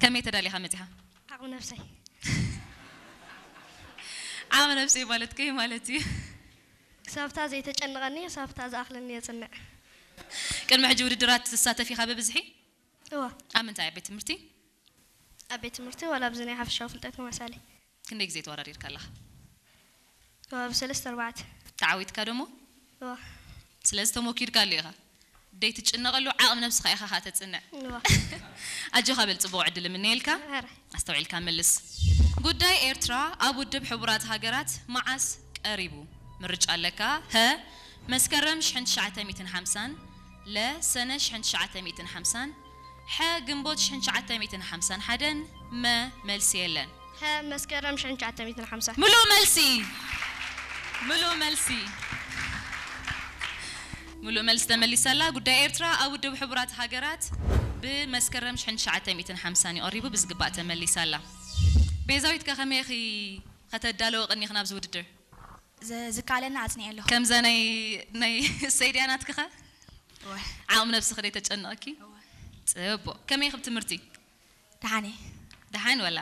ከመይ ተዳሊኻ መጺኻ? ዓቕሚ ነብሰይ። ዓቕሚ ነብሰይ ማለት ከይ ማለት እዩ? ክሳብታ ዘይተጨንቐኒ፣ ክሳብታ ዝኣኽለኒ የጽንዕ። ቅድሚ ሕጂ ውድድራት ትሳተፍ ኢኻ ብብዝሒ? እዋ። ኣብ ምንታይ? ኣብ ቤት ትምህርቲ? ኣብ ቤት ትምህርቲ ዋላ ኣብዚ ናይ ሓፈሻዊ ፍልጠት መመሳሊ። ክንደይ ግዜ ተወዳዲርካ ኣለኻ? እዋ፣ ብሰለስተ ኣርባዕተ። ተዓዊትካ ደሞ? እዋ። ስለዚ ተሞኪድካ ኣሎ ኢኻ። ደይ ትጭነቐሉ ዓቕሚ ነብስኻ ኢኻ ኸኣ ተጽንዕ። እዋ። ኣጆኻ በል፣ ጽቡቕ ዕድል እምነየልካ። ኧረ። ኣስተውዒልካ መልስ። ጉዳይ ኤርትራ ኣብ ውድብ ሕቡራት ሃገራት መዓስ ቀሪቡ? ምርጫ ኣለካ። ሀ፣ መስከረም ሽሕን ትሽዓተ ሚእትን ሓምሳን፣ ለ፣ ሰነ ሽሕን ትሽዓተ ሚእትን ሓምሳን፣ ሐ፣ ግንቦት ሽሕን ትሽዓተ ሚእትን ሓምሳን ሓደን፣ መ፣ መልሲ የለን። ሀ፣ መስከረም ሽሕን ትሽዓተ ሚእትን ሓምሳን። ምሉእ መልሲ። ምሉእ መልሲ። ምሉእ መልሲ ተመሊሳ ኣላ። ጉዳይ ኤርትራ ኣብ ውድብ ሕቡራት ሃገራት ብመስከረም ሽሕን ትሽዓተ ሚእትን ሓምሳን እዩ ቀሪቡ፣ ብዝግባእ ተመሊሳ ኣላ። ቤዛዊት ከ ከመይ ኢኺ ከተዳለወ ቀኒኺ ናብዚ ውድድር? ዝ- ዝካለና ኣጽኒዐ ኣለኹ። ከምዛ ናይ ናይ ሰይድያ ናትክኸ? እወ። ዓቕሚ ነብስኺ ደይ ተጨንቐኪ? እወ። ጽቡቕ። ከመይ ኢኺ ብትምህርቲ? ደሓን እየ። ደሓን ወላ?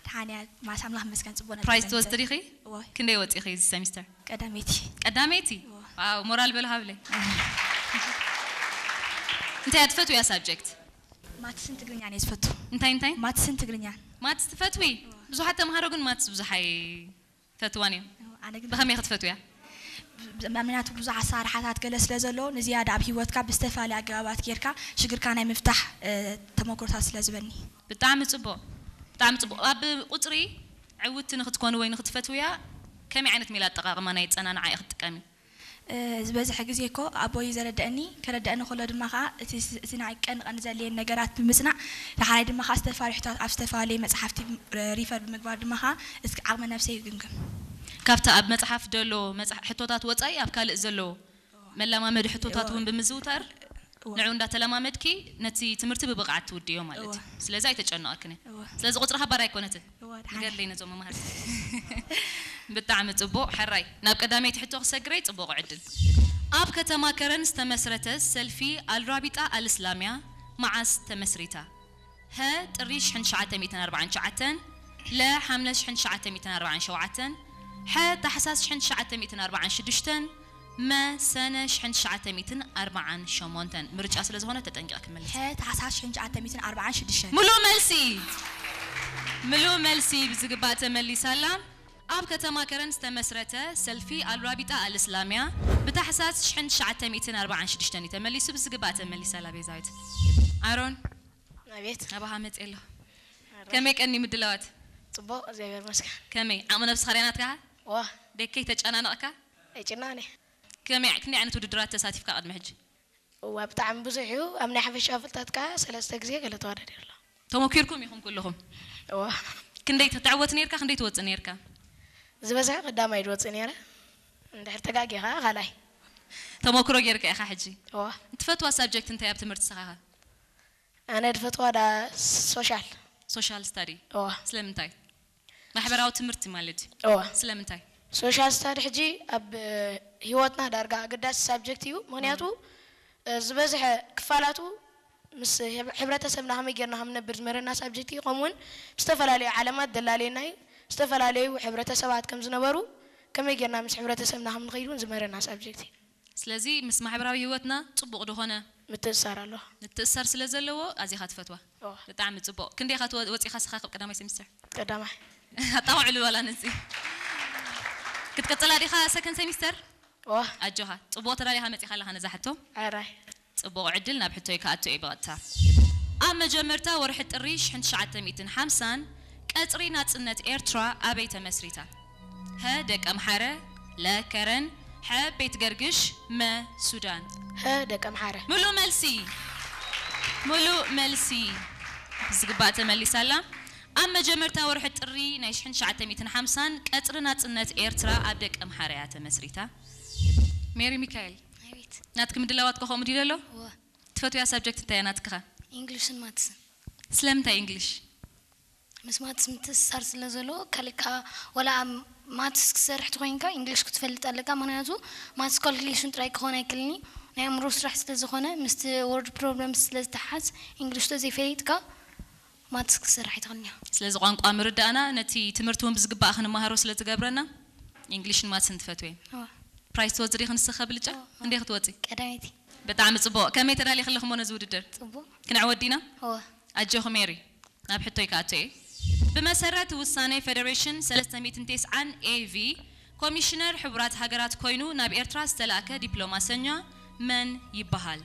ደሓን እያ። ማስ ኣምላኽ መስገን ጽቡቕ ነበር ፕራይዝ ነበር። ትወስዲ ዲኺ? እወ። ክንደይ ወጺኺ እዚ ሰሚስተር? ቀዳመይቲ። ቀዳመይቲ? እወ። ዋው፣ ሞራል በል ሃብለይ። እንታይ እያ ትፈትውያ ሳብጀክት? ማትስን ትግርኛን እየ ዝፈቱ። እንታይ እንታይ? ማትስን ትግርኛን። ማትስ ትፈትዊ? ብዙሓት ተምሃሮ ግን ማትስ ብዙሕ ኣይፈትዋን እዮም። ኣነ ግን ብኸመይ ክትፈትውያ? ብ- ምክንያቱ ብዙሕ ኣሰራርሓታት ገለ ስለ ዘሎ ንዝያዳ ኣብ ሂወትካ ብዝተፈላለየ ኣገባባት ጌርካ ሽግርካ ናይ ምፍታሕ እ፣ ተመክሮታት ስለ ዝበኒ። ብጣዕሚ ጽቡቕ፣ ብጣዕሚ ጽቡቕ። ኣብ ቁጽሪ ዕውቲ ንክትኮኑ ወይ ንክትፈትውያ ከመይ ዓይነት ሜላ ኣጠቓቕማ ናይ ኣጸናንዓ ኢኺ ትጥቀሚ? እ፣ ዝበዝሐ ግዜ እኮ ኣቦይ ዘረደአኒ፣ ከረደአኒ ከሎ ድማ ከዓ እቲ ስ- እቲ ናይ ቀን ቀን ዘድልየን ነገራት ብምጽናዕ፣ ዳሕራይ ድማ ከዓ ዝተፈላለዩ ሕቶታት ኣብ ዝተፈላለዩ መጽሓፍቲ ሪፈር ብምግባር ድማ ከዓ እስኪ ዓቕሚ ነብሰይ ይግምግም። ካብቲ ኣብ መጽሓፍ ዘሎ መጽሓ- ሕቶታት ወጻኢ ኣብ ካልእ ዘሎ መለማመዲ ሕቶታት እውን ብምዝውታር እወ። ንዑ እንዳተለማመድኪ ነቲ ትምህርቲ ብብቕዓት ትውድዮ ማለት እዩ። እወ። ስለዚ ኣይተጨነቐክን እየ። እወ። ስለዚ ቁጽሪ ሓባር ኣይኮነትን። እወ፣ ደሓን። ንገድለይ ነዞም መምሃርቲ። ብጣዕሚ ጽቡቕ። ሕራይ ናብ ቀዳመይቲ ሕቶ ክሰግረይ ጽቡቕ ዕድል። ኣብ ከተማ ከረን ዝተመስረተ ሰልፊ ኣልራቢጣ ኣልእስላምያ መዓስ ተመስሪታ? ሀ፣ ጥሪ ሽሕን ትሽዓተ ሚእትን ኣርባዓን ትሽዓተን፣ ለ፣ ሓምለ ሽሕን ትሽዓተ ሚእትን ኣርባዓን ሸውዓተን፣ ሐ፣ ታሕሳስ ሽሕን ትሽዓተ ሚእትን ኣርባዓን ሽዱሽተን፣ መ፣ ሰነ ሽሕን ትሽዓተ ሚእትን ኣርባዓን ሸሞንተን። ምርጫ ስለ ዝኾነ ተጠንቂቕኪ መልሲ። ሐ፣ ታሕሳስ ሽሕን ትሽዓተ ሚእትን ኣርባዓን ሽዱሽተን። ምሉእ መልሲ፣ ምሉእ መልሲ ብዝግባእ ተመሊሳ ኣላ። ኣብ ከተማ ከረን ዝተመስረተ ሰልፊ ኣልራቢጣ ኣልእስላምያ ብታሕሳስ ሽሕን ትሽዓተ ሚእትን ኣርባዓን ሽዱሽተን እዩ ተመሊሱ። ብዝግባእ ተመሊሳ ኣላ ቤዛዊት። ኣሮን፣ ኣቤት። ናባኻ መጽእ ኣለኹ። ከመይ ቀኒ ምድላዋት? ጽቡቕ፣ እግዚኣብሔር ይመስገን። ከመይ ዓቕሚ ነብስኻ ርያ ናትካ? ዋ፣ ደከይ ተጨናነቕካ? ኣይጭናነ። ከመይ ክንደይ ዓይነት ውድድራት ተሳቲፍካ ቅድሚ ሕጂ? እዋ፣ ብጣዕሚ ብዙሕ እዩ። ኣብ ናይ ሓፈሻ ፍልጠት ከኣ ሰለስተ ግዜ ገለ ተወዳዲረ ኣለኹ። ተመኪርኩም ኢኹም ኩልኹም? እዋ፣ ክንደይ ትዕወት ነርካ? ክንደይ ትወጽእ ነርካ? ዝበዝሐ ቀዳማይ ድወጽእ ነይረ። እንድሕር ተጋጊኻ ካልኣይ። ተመክሮ ጌርካ ኢኻ ሕጂ። እዋ፣ ትፈትዋ ሳብጀክት እንታይ ኣብ ትምህርቲ ንስኻኸ? ኣነ ድፈትዋ ዳ ሶሻል። ሶሻል ስታዲ። እዋ፣ ስለምንታይ? ማሕበራዊ ትምህርቲ ማለት እዩ። እዋ። ስለምንታይ? ሶሻል ስታዲ ሕጂ ኣብ ህይወትና ዳርጋ ኣገዳሲ ሳብጀክት እዩ። ምክንያቱ እ፣ ዝበዝሐ ክፋላቱ ምስ ህብ- ሕብረተሰብና ከመይ ጌርና ከም ንነብር ዝምህረና ሳብጀክት እዩ። ከምኡውን ብዝተፈላለዩ ዓለማት ደላለየና እዩ። ዝተፈላለዩ ሕብረተሰባት ከም ዝነበሩ ከመይ ጌርና ምስ ሕብረተሰብና ከም ንኸይድ እውን ዝምህረና ሳብጀክት እዩ። ስለዚ ምስ ማሕበራዊ ህይወትና ጽቡቕ ዝኾነ ምትእስሳር ኣለዎ። ምትእስሳር ስለ ዘለዎ ኣዚኻ ትፈትዋ። እዋ። ብጣዕሚ ጽቡቕ። ክንደይ ኢኻ ትወ- ወጺኻ ስኻ ካብ ቀዳማይ ሴሚስተር? ቀዳማይ። ኣጣውዕሉ ዋላ ነዚ። ክትቅጽላ ዲኻ ሰከንድ ሴሚስተር? እዋ። ኣጆኻ። ጽቡቕ ተዳሊኻ መጺኻ ኣለኻ ነዛ ሕቶ። ኣራይ። ጽቡቕ ዕድል ናብ ሕቶይ ክኣቱ እየ ብቐጥታ። ኣብ መጀመርታ ወርሒ ጥሪ ሽሕን ትሽዓተ ሚእትን ሓምሳን ቀጽሪ ናጽነት ኤርትራ ኣበይ ተመስሪታ? ሀ፣ ደቀምሓረ፣ ለ፣ ከረን፣ ሐ፣ ቤት ገርግሽ፣ መ፣ ሱዳን። ሀ፣ ደቀምሓረ። ምሉእ መልሲ፣ ምሉእ መልሲ። ብዝግባእ ተመሊሳ ኣላ። ኣብ መጀመርታ ወርሒ ጥሪ ናይ ሽሕን ትሽዓተ ሚእትን ሓምሳን ቀጽሪ ናጽነት ኤርትራ ኣብ ደቀምሓረ እያ ተመስሪታ። ሜሪ ሚካኤል፣ ኣቤት። ናትኪ ምድላዋት ከ ከምኡ ድዩ ዘሎ? እወ። ትፈትውያ ሳብጀክት እንታይ እያ ናትክኸ? ኢንግሊሽን ማትስን። ስለምንታይ ኢንግሊሽ? ምስ ማትስ ምትእስሳር ስለ ዘለዎ ካልእ ከኣ ዋላ ኣብ ማትስ ክሰርሕ ተኮይንካ ኢንግሊሽ ክትፈልጥ ኣለካ። ምክንያቱ ማትስ ካልኩሌሽን ጥራይ ክኾን ኣይክእልን እዩ። ናይ ኣእምሮ ስራሕ ስለ ዝኾነ ምስቲ ወርድ ፕሮብለም ስለ ዝተሓዝ ኢንግሊሽ ተዘይፈሊጥካ ማትስ ክሰርሕ ኣይትኽእልን እያ። ስለዚ ቋንቋ ምርዳእና ነቲ ትምህርቲ እውን ብዝግባእ ክንመሃሮ ስለ ዝገብረና፣ ኢንግሊሽን ማትስን ትፈትወ። እዋ፣ ፕራይዝ ትወጽእ ዲኺ ንስኺ ከብልጫ? እዋ። ክንደይ ክትወጺ? ቀዳመይቲ። ብጣዕሚ ጽቡቕ። ከመይ ተዳሊኺ ኣለኺ እሞ ነዚ ውድድር? ጽቡቕ። ክንዕወት ዲና? እዋ። ኣጆኺ ሜሪ። ናብ ሕቶይ ክኣቱ እየ። ብመሰረት ውሳነ ፌደሬሽን ሰለስተ ሚእትን ተስዓን ኤ ቪ፣ ኮሚሽነር ሕቡራት ሃገራት ኮይኑ ናብ ኤርትራ ዝተላእከ ዲፕሎማሰኛ መን ይበሃል?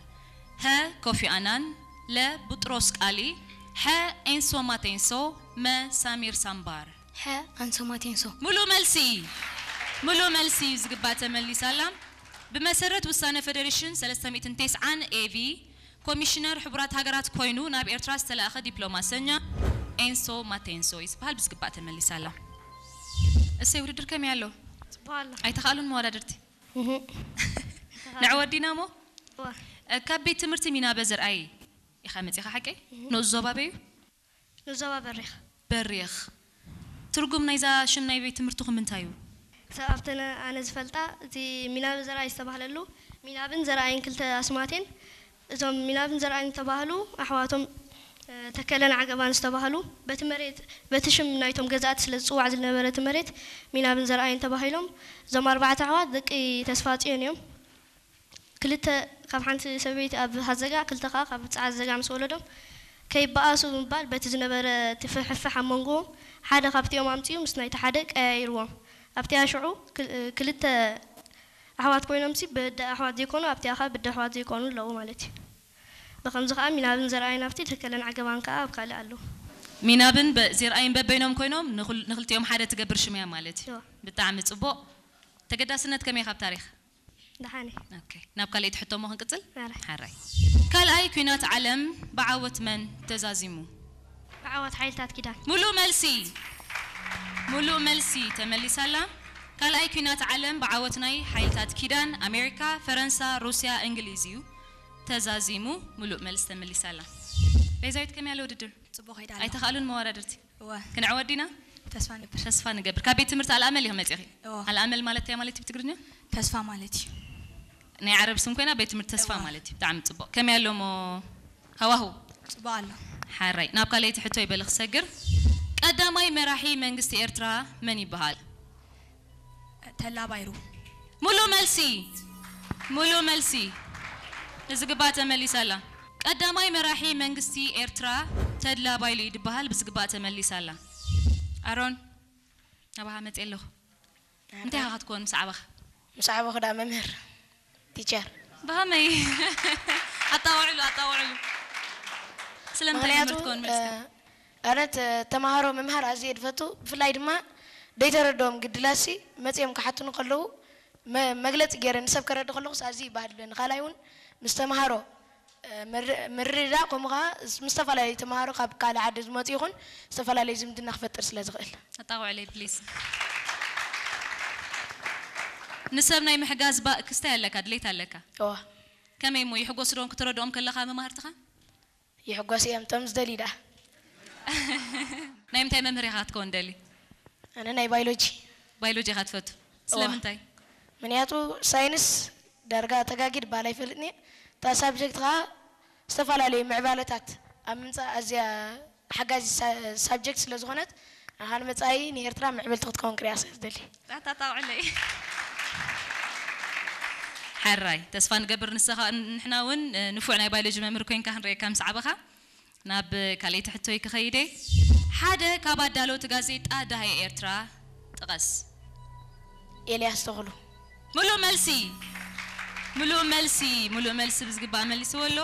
ሀ፣ ኮፊ ኣናን፣ ለ፣ ቡጥሮስ ቃሊ፣ ሐ፣ ኤንሶ ማቴንሶ፣ መ፣ ሳሚር ሳምባር። ሐ፣ ኣንሶ ማቴንሶ። ሙሉእ መልሲ፣ ሙሉእ መልሲ እዩ ዝግባእ ተመሊሳ ኣላ። ብመሰረት ውሳነ ፌደሬሽን ሰለስተ ሚእትን ተስዓን ኤ ቪ፣ ኮሚሽነር ሕቡራት ሃገራት ኮይኑ ናብ ኤርትራ ዝተላእኸ ዲፕሎማሰኛ ኤንሶ ማቴንሶ እዩ ዝበሃል። ብዝግባእ ተመሊሳ ኣላ። እሰይ፣ ውድድር ከመይ ኣሎ? ጽቡቕ ኣሎ። ኣይተኻእሉን መወዳድርቲ? እህ። ንዕወት ዲና እሞ? እዋ። እ፣ ካብ ቤት ትምህርቲ ሚናበ ዘርኣይ ኢኻ መጺኻ ሓቀይ? ንኡስ ዞባ ኣበይ እዩ? ንዞባ በሪኽ። በሪኽ። ትርጉም ናይዛ ሽም ናይ ቤት ትምህርትኹም እንታይ እዩ? ክሳብ ኣብተን ኣነ ዝፈልጣ፣ እቲ ሚናብ ዘርኣይ ዝተባህለሉ፣ ሚናብን ዘርኣይን ክልተ ኣስማት እየን። እዞም ሚናብን ዘርኣይን ዝተባህሉ ኣሕዋቶም፣ እ፣ ተከለን ዓገባን ዝተባህሉ፣ በቲ መሬት፣ በቲ ሽም ናይቶም ገዛእቲ ስለ ዝጽዋዕ ዝነበረ እቲ መሬት ሚናብን ዘርኣይን ተባሂሎም። እዞም ኣርባዕተ ኣሕዋት ደቂ ተስፋጽዮን እዮም። ክልተ ካብ ሓንቲ ሰበይቲ ኣብ ሃዘጋ፣ ክልተ ከኣ ካብ ጸዓት ዘጋ ምስ ወለዶም፣ ከይበኣሱ ብምባል በቲ ዝነበረ እቲ ፍሕፍሕ ኣብ መንጎኦም ሓደ ካብቲኦም ኣምጺኡ ምስ ናይቲ ሓደ ቀያይርዎም። ኣብቲኣ ሽዑ ክል-፣ ክልተ ኣሕዋት ኮይኖምሲ ብደ ኣሕዋት ዘይኮኑ ኣብቲኣ ከኣ ብደ ኣሕዋት ዘይኮኑ ኣለዉ ማለት እዩ። ብኸምዚ ከኣ ሚናብን ዘርኣይን ኣብቲ ተከለን ዓገባን ከኣ ኣብ ካልእ ኣለዉ። ሚናብን በ-፣ ዘርኣይን በበይኖም ኮይኖም ንኹል-፣ ንኽልቲኦም ሓደ ትገብር ሽም እያ ማለት እዩ። እዋ። ብጣዕሚ ጽቡቕ። ተገዳስነት ከመይ ካብ ታሪኽ? ደሓን እየ። ኦኬ፣ ናብ ካልኣይቲ ሕቶ እሞ ክንቅጽል? ማራ። ሓራይ። ካልኣይ ኲናት ዓለም ብዓወት መን ተዛዚሙ? ብዓወት ሓይልታት ኪዳን። ሙሉእ መልሲ፣ ሙሉእ መልሲ ተመሊሳ ኣላ። ካልኣይ ኲናት ዓለም ብዓወት ናይ ሓይልታት ኪዳን ኣሜሪካ፣ ፈረንሳ፣ ሩስያ፣ እንግሊዝ እዩ ተዛዚሙ። ሙሉእ መልሲ ተመሊሳ ኣላ። ቤዛዊት ከመይ ኣሎ ውድድር? ጽቡቕ ከይዳ ኣላ። ኣይተኻእሉን መወዳድርቲ? እወ፣ ክንዕወት ዲና? ተስፋ ንገብር። ተስፋ ንገብር። ካብ ቤት ትምህርቲ ኣልኣመል ኢኹም መጺኺ? እወ። ኣልኣመል ማለት እንታይ ማለት እዩ ብትግርኛ? ተስፋ ማለት እዩ። ናይ ዓረብ ስም ኮይና ቤት ትምህርቲ ተስፋ እወ። ማለት እዩ። ብጣዕሚ ጽቡቕ። ከመይ ኣሎ እሞ ሃዋሁ? ጽቡቕ ኣሎ። ሓራይ። ናብ ካልኣይቲ ሕቶ ይበል ክሰግር። ቀዳማይ መራሒ መንግስቲ ኤርትራ መን ይበሃል? ተላ ባይሩ። ሙሉእ መልሲ፣ ሙሉእ መልሲ። ንዝግባእ ተመሊሳ ኣላ። ቀዳማይ መራሒ መንግስቲ ኤርትራ ተድላ ባይሉ እዩ ዝበሃል። ብዝግባእ ተመሊሳ ኣላ። ኣሮን፣ ናባኻ መጽእ ኣለኹ። እንታይ ኢኻ ክትኮን ምስ ዓበኻ? ምስ ዓበኹ ደኣ መምህር፣ ቲቸር። ብኸመይ? ኣጣውዕሉ፣ ኣጣውዕሉ። ስለምንታይ ምኽንያቱ መምህር ትኮን መሲልካ? እ፣ ኣነ ተ-፣ ተምሃሮ ምምሃር ኣዝየ ድፈቱ። ብፍላይ ድማ ደይተረድኦም ግድላሲ መጺኦም ክሓቱኒ ከለዉ መ-፣ መግለጺ ገይረ ንሰብ ከረዲ ከለኹስ ኣዝዩ ይባህድለኒ። ካልኣይ እውን ምስ ተምሃሮ፣ እ፣ ምር-፣ ምርድዳእ፣ ከምኡ ኸዓ ምስ ዝተፈላለዩ ተምሃሮ ካብ ካልእ ዓዲ ዝመጹ ይኹን ዝተፈላለየ ዝምድና ክፈጥር ስለ ዝኽእል። ኣጣውዕለይ ፕሊስ። ንሰብ ናይ ምሕጋዝ ባ-፣ ክስታይ ኣለካ፣ ድሌት ኣለካ። እዋ። ከመይ እሞ ይሕጎሱ ዶ ክትረድኦም ከለኻ መማህርትኻ? ይሕጎስ እዮም እቶም ዝደልዩ ደኣ። ናይ ምንታይ መምህር ኢኻ ክትከውን ደሊ? ኣነ ናይ ባዮሎጂ። ባዮሎጂ ኢኻ ትፈቱ? ስለምንታይ? ምክንያቱ ሳይንስ ዳርጋ ተጋጊ ድበሃል ኣይፈልጥን እየ። እታ ሳብጀክት ኸዓ ዝተፈላለዩ ምዕባለታት ኣብ ምምፃእ ኣዝያ ሓጋዚ ሳ-፣ ሳብጀክት ስለ ዝኾነት፣ ኣነ ንመፃኢ ንኤርትራ ምዕብልቲ ክትከውን ክሪኣ ስለ ዝደሊ። ኣታ ኣጣውዕለይ። ሓራይ፣ ተስፋ ንገብር ንስኻ፣ ንሕና እውን፣ እ፣ ንፉዕ ናይ ባዮሎጂ መምህር ኮይንካ ክንርእየካ ምስ ዓበኻ። ናብ ካልኣይቲ ሕቶይ ክኸይድ እየ። ሓደ ካብ ኣዳለውቲ ጋዜጣ ደሃይ ኤርትራ ጥቐስ። ኤልያስ ተኽሉ። ምሉእ መልሲ፣ ምሉእ መልሲ፣ ምሉእ መልሲ ብዝግባእ መሊስዎ ኣሎ።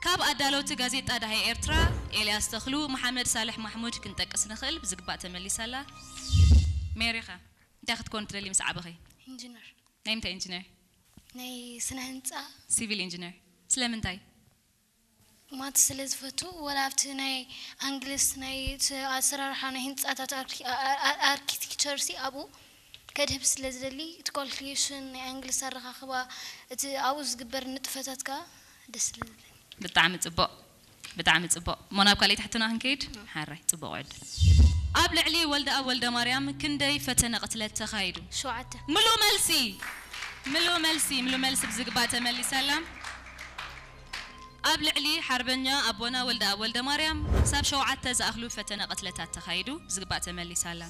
ካብ ኣዳለውቲ ጋዜጣ ደሃይ ኤርትራ ኤልያስ ተኽሉ፣ መሓመድ ሳልሕ ማሕሙድ ክንጠቅስ ንኽእል። ብዝግባእ ተመሊሳ ኣላ። ሜሪኻ እንታይ ክትኮን ትደሊ ምስ ዓበኺ? ኢንጂነር። ናይ ምንታይ ኢንጂነር? ናይ ስነ ህንፃ። ሲቪል ኢንጂነር። ስለምንታይ? ማትስ ስለ ዝፈቱ፣ ወላ ኣብቲ ናይ ኣንግልስ ናይ ስ-፣ ኣሰራርሓ ናይ ህንፃታት ኣርኪ-፣ ኣ-፣ ኣ-፣ ኣርኪቴክቸር ሲ ኣብኡ ከድህብ ስለ ዝደሊ፣ እቲ ኳልኩሌሽን ናይ ኣንግልስ ኣረኻኽባ፣ እቲ ኣብኡ ዝግበር ንጥፈታት ከኣ ደስ ስለ ዝብለኒ። ብጣዕሚ ጽቡቕ፣ ብጣዕሚ ጽቡቕ። እሞ ናብ ካልኣይቲ ሕቶና ክንከይድ? ሓራይ፣ ጽቡቕ ዕድል። ኣብ ልዕሊ ወልደኣብ ወልደማርያም ክንደይ ፈተነ ቅትለት ተኻይዱ? ሸውዓተ። ምሉእ መልሲ፣ ምሉእ መልሲ፣ ምሉእ መልሲ ብዝግባእ ተመሊሳ ኣላ። ኣብ ልዕሊ ሓርበኛ ኣቦና ወልደኣብ ወልደማርያም ክሳብ ሸውዓተ ዝኣኽሉ ፈተነ ቅትለታት ተኻይዱ፣ ብዝግባእ ተመሊሳ ኣላ።